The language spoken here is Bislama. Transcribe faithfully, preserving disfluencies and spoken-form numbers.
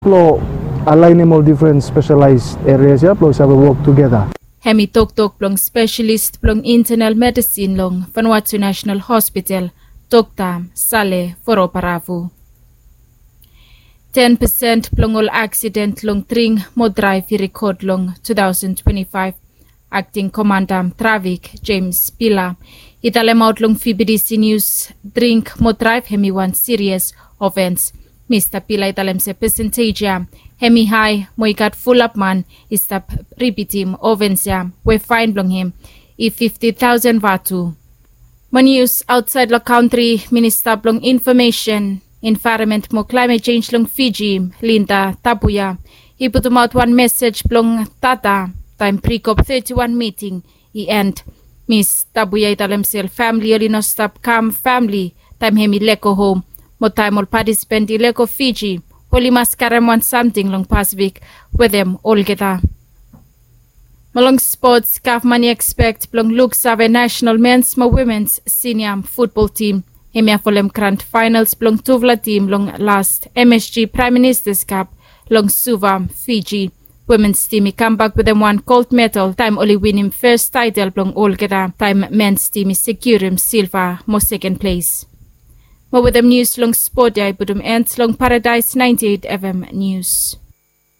Blong alaenem ol difren spesialaes erias ya blong save wok tugeta. Hem i toktok blong spesialis blong intenal medisin long Vanuatu National Hospital, Dokta Sale Voroparavu. Ten pesen blong ol aksiden long dring mo draev i rekod long two thousand twenty-five. Akting komanda trafik James Pila i talemaot long V B D C News, dring mo draev hem i wan sirias ofens. Mista Pila i talem se pesentej ya hem i hae mo i gat fulap man i stap ripitim ofens ya we faen blong hem i fifti taosen vatu. Mo nius aotsaed long kantri, minista blong infomesen, envaeronmen mo klaemet jenj long Fiji, Linda Tabuya, i putumaot wan mesej blong data taem brikop teti wan miting i en. Mis Tabuya i talem se famili oli no stap kam famili taem hem i lego hom, mo taem ol patisipen i lego Fiji oli mas karem wan samting long Pasifik wetem olgeta. Mo long spots, gavman i ekspek blong luksave nasenal mens mo womens sinia futbol tim. Hemia folem grand faenals blong tufala tim long las M S G Praem Ministas Kap long Suva, Fiji. Womens tim i kambak wetem wan gold medal taem oli winim fes taetel blong olgeta taem mens tim i sekiurim silva mo seken ples. Mo wetem nius long spot ya i putum en long Paradaes ninety eight F M Nius.